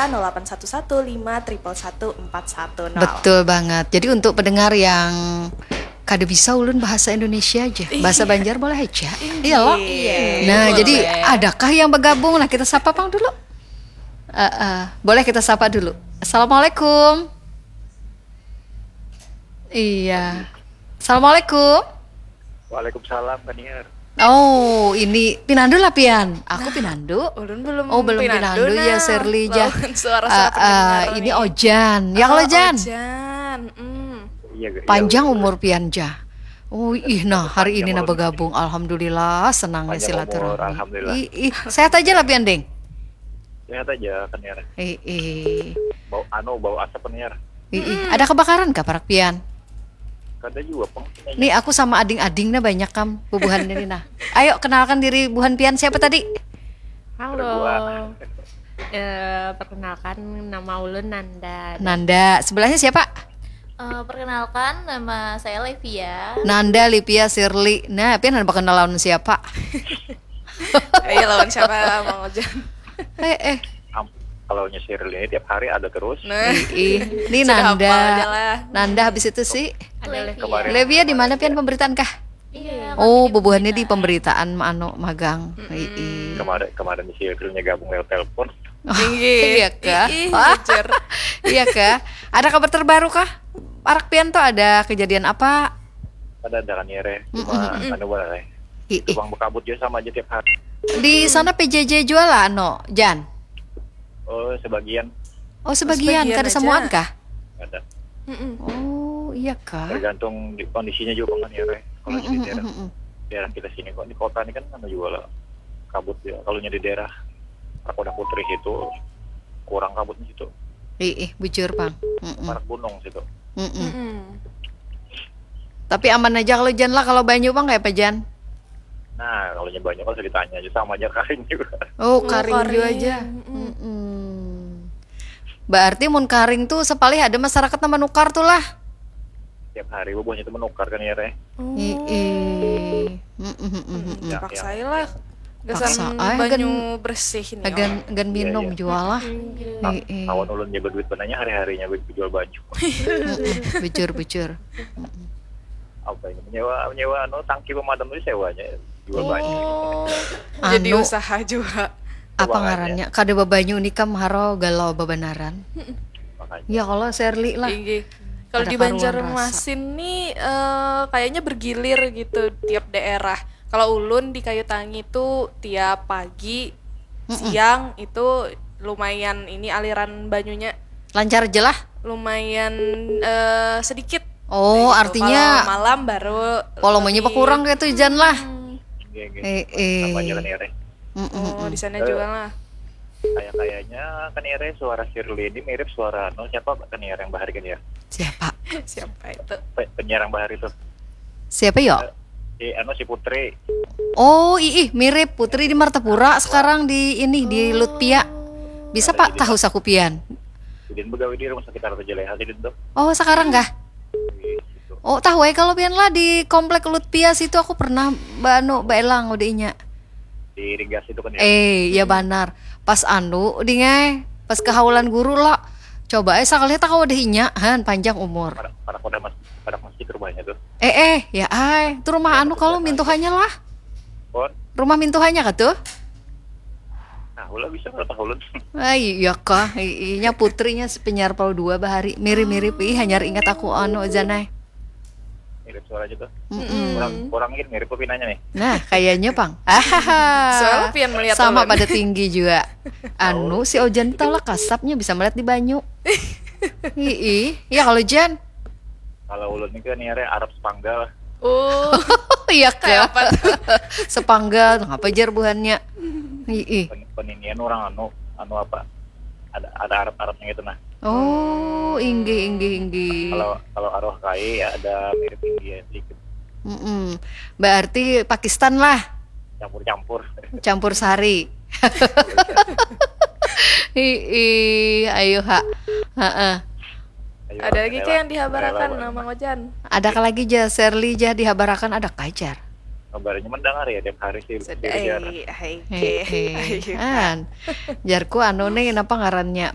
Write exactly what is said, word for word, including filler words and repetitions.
nol delapan satu satu lima triple satu empat satu nol. Betul banget. Jadi untuk pendengar yang kada bisa ulun bahasa Indonesia aja, bahasa Banjar boleh aja. Iya loh. Iya, Nah, boleh. Jadi adakah yang bergabung? Nah, kita sapa pang dulu. Eh, eh, boleh kita sapa dulu. Assalamualaikum. Iya. Assalamualaikum. Waalaikumsalam, Kaniar. Oh, ini pinandu lah pian. Aku pinandu. Ulun belum Oh, belum pinandu, pinandu, ya, nah. Serli, ja. Lawan suara-suara Ah, ah, pendengar ini nih. Ojan. Ya, kalau Oh, Jan. Ojan. Hmm. Iya, iya, Panjang betul. Umur pian, ja. Oh, ih, nah, hari ini Panjang nah ulun. Bergabung. Alhamdulillah, senangnya Panjang umur, silaturahmi. alhamdulillah. Ih, ih, sehat aja lah pian, Ding. Sehat aja, Kaniar. Ih, ih. Bau anu, bau asap, Kaniar. Ih, ih. Ada kebakaran kah parak pian? Kada juga, pang. Nih, aku sama ading-ading nah banyak kam bubuhannya nih, nah. Ayo, kenalkan diri buhan pian, siapa tadi? Halo. Perbuatan. Eh, perkenalkan, nama ulun Nanda. Nanda. Sebelahnya siapa? Eh, perkenalkan, nama saya Levia. Nanda, Livia, Sirli. Nah, pian ada kenal lawan siapa? Ayo, lawan siapa, Mang Ojan? Eh, eh. Am- Kalau nyisir ini tiap hari ada terus. Nah, Ih, ini sudah Nanda. hafal aja lah. Nanda, habis itu sih. Ada Levia. Kemarin. Levia, di mana pian pemberitaan kah? Iya. Oh, Kami di bubuhannya di pemberitaan. Pemberitaan anu magang. Ih. Kemarin kemarin si April nya gabung lewat telepon. Iya kah? Ih, Wah, hajar. Iya kah? Ada kabar terbaru kah? Parak pian tuh ada kejadian apa? Ada ada, Kaniar, ya. Cuma anu, boleh. Ih, ih. Cuma berkabut juga sama aja tiap hari. Di sana P J J jual lah, no, Jan. Oh, sebagian. Oh, sebagian, Sebagian kada aja. Samuan kah? Ada. Mm-mm. Oh, iya kah? Tergantung di kondisinya juga, Kaniar, ya. Kalau di Mm-mm, daerah mm-mm. daerah kita sini kok, di kota ini kan anu juga lah, kabut ya. Kalau di daerah Rakoda Putri itu kurang kabutnya situ. Ih, ih, bujur, Pang. Mm-mm, Parak gunung situ. mm-mm. Mm-mm. Tapi aman aja kalau Jan lah, kalau banyu, Pang, kayak apa, Jan? Nah, kalau nya banyu kan usah ditanya aja, sama aja karing juga. Oh, Oh, karing jua karing. aja. Mm-mm. Mm-mm. Berarti mun karing tuh sepalih ada masyarakat nang manukar tuh lah. Tiap hari bubuhannya itu menukar, Kaniar, ya. Oh. Ih, ih. Mm-mm, mm-mm, mm-mm. Hmm, Ya, paksa ya. lah. Gasan Paksa. Ah, banyu hagan, bersih ini. hagan, hagan Iya, minum iya. jua lah. Nah, Ih, ih. Kawan ulun nya berduit bananya, hari-harinya berjual banyu. Mm-mm. Bujur, bujur. Mm-mm. Apa ini, menyewa menyewa anu, tangki pemadam itu sewanya, jual banyu. Oh, jadi Anu. Usaha juga. Apa Makanya. Ngarannya? Kada babanyu unikam haro, galau babanaran. Makanya. Ya kalau Serli lah. Tinggi. Kalau Ada di karuan Banjarmasin nih, eh, kayaknya bergilir gitu tiap daerah. Kalau ulun di Kayu Tangi tuh tiap pagi, Mm-mm. siang itu lumayan ini aliran banyunya Lancar aja lah. lumayan, eh, sedikit. Oh, Kayak gitu. Artinya Kalau malam baru volumenya lebih- berkurang kayak tuh, Jan lah. Hmm, Iya, iya. Eh, eh. Sama aja, Kaniar, ya. Mm-mm. Oh, di sana Eh. juga lah. Kayak kayaknya, Kaniar, ya, suara Sirli ini mirip suara anu, siapa, Kaniar, yang bahari, Kaniar? Siapa? Siapa itu? Pe- penyiar yang bahari tuh. Siapa yo? Si anu, si Putri. Oh, ih, ih, mirip Putri di Martapura, sekarang di ini, di Lutpia. Bisa, Pak, tahu saku pian? Sidin begawe di rumah sakit Arta Jeleha, sidin tuh. Oh, sekarang kah? Di situ. Oh, tahu ya kalau pian lah di komplek Lutpia situ, aku pernah ba-, anu, baelang udah inya. Di Rigas itu kan, ya. Eh, ya banar. Pas anu, dingai, pas kehaulan guru lah. Coba eh sakali tak udah inya, han, panjang umur. Pada pada pada mas pada masjid rumahnya tuh. Eh, eh, ya ai, itu rumah anu kalau mintuhannya lah. Pon, Rumah mintuhannya kah tuh? nah, ulah bisa kalau tahu ulun. Ai, iya kah? I- Inya Putrinya si penyiar Pol dua bahari. Mirip-mirip, ih, hanyar ingat aku anu, Zanai. Mirip suara aja tuh. Mm-mm. Kurang kurang gini, mirip pinanya nih. Nah, kayaknya, Pang. Soalnya pian melihat Sama ulun. Pada tinggi juga. Anu, si Ojan tau lah kasapnya bisa melihat di banyu. Ih, ya kalau Jan. Kalau ulun ini kan nyari Arab sepanggal. Oh, Iya kayak kah? Apa tuh? Sepanggal, ngapa jar buhannya? Ih, Pen- peninian orang anu anu apa? Ada ada Arab Arabnya gitu, nah. Oh, inggih, inggih, inggih. Kalau kalau arwah kai ya ada mirip India sedikit. Mm-mm. Berarti Pakistan lah. Campur-campur. Campur sari. Ih, ayo ha. Heeh. Ayo, Ada lagi rela- kayak yang dihabarakan rela sama Ojan? Ada kah lagi ja, Serli ja dihabarakan, ada kah jar? Kabarnya mendengar ya tiap hari sih. Sedih. Belajar. Hai, hai, Hehe. hai. An. Jarku anu nih, napa ngarannya?